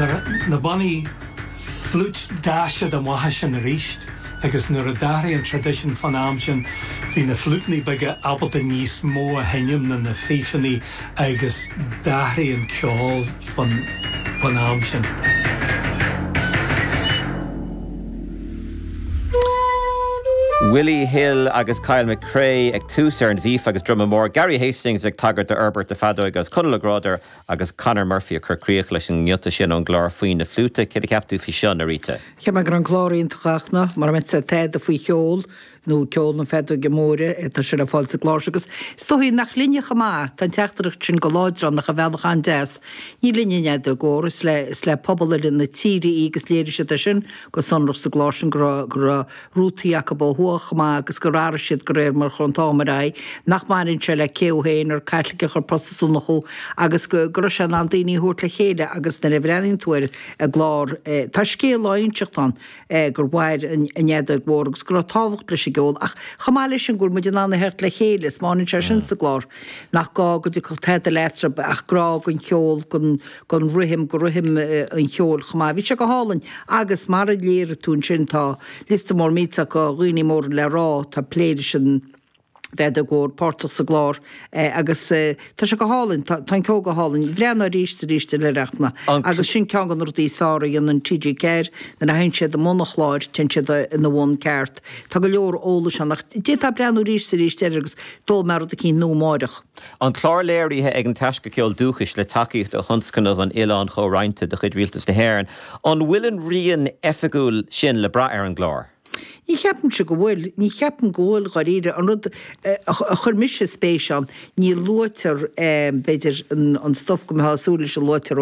Na bannaí fliúit d'fhás siad amach as sin arís agus nuair a d'athraigh an traidisiún fán am sin bhí na fliúiteanna beaga ábalta níos mó a sheinm ná na fífeanna agus d'athraigh an ceol fán am sin. Willie Hill agus Kyle McRae ag tús ar an bhfíf agus druma mór, Gary Hastings ag tagairt d'fhorbairt na feadóige agus Conall Ó Grádaigh Agus Conor Murphy ag cur críoch leis an ngiota sin ón gclár faoi na fliúta. Céard a cheap tú faoi seo, Norita? Cheap mé go raibh an clár iontach a Fhachtna, mura mbeadh tada faoi cheol nó ceol na feadóige móire, tá sé le fáil sa gclár seo agus is dóigh nach linne chomh maith, tá an teachtaireacht sin go láidir ann ach ar bhealach an-deas. Ní linne an fheadóg mhór, is le is le pobal uile na tíre í agus léirigh siad é sin go sonrach sa gclár sin go raibh go raibh rútaí acu ó thuaidh chomh maith agus gur athraigh siad de réir mar a chuaigh an t-am ar aghaidh, nach mbaineann sé le cé thú féin, ar Caitliceach ar Protastúnach thú, agus go raibh sé in ann daoine a thabhairt le chéile agus nuair a bhreathnaíonn tú ar an gclár tá scéal á inseacht ann gur mhair an fheadóg mhór agus go raibh tábhacht leis an gceol ach chomh maith leis sin go bhfuil muid in ann a theacht le chéile, is maíonn sé sin sa gclár nach gá go dtiocfadh tada le eatarthu ach grá don cheol, don. don rithim, do rithim an cheoil chomh maith. Bhí sé go hálainn agus mar a léirigh tú ansin tá liosta mór millteach de dhaoine móra le rá atá ag plé leis an bhfeadóg mhór páirteach sa gclár agus tá sé go hálainn, tá an ceol go hálainn. Bhreathnóinn arís is arís eile air a Fhachtna agus sin ceann de na rudaí is fearr a dhéanann TG4 nuair a théann siad i mbun an chláir, téann siad ina bhun ceart. Tá go leor eolais ann ach d'fhéadfá breathnú arís is arís air agus d'fhoghlaim mé rud eicínt nua amáireach. An clár léirithe ag an Taisce Ceoil Dúchais le tacaíocht ó Thionscnamh an Oileáin Chomhroinnte de chuid Rialtas na hÉireann. An bhfuil an rian oifigiúil sin le brath ar an gclár? Ní cheapaimse go bhfuil. Ní cheapaim go bhfuil, dháiríre. An rud a chuir mise spéis ann, ní luaitear, b'fhéidir, an stuif go mbeifeá ag súil leis a luaitear ó.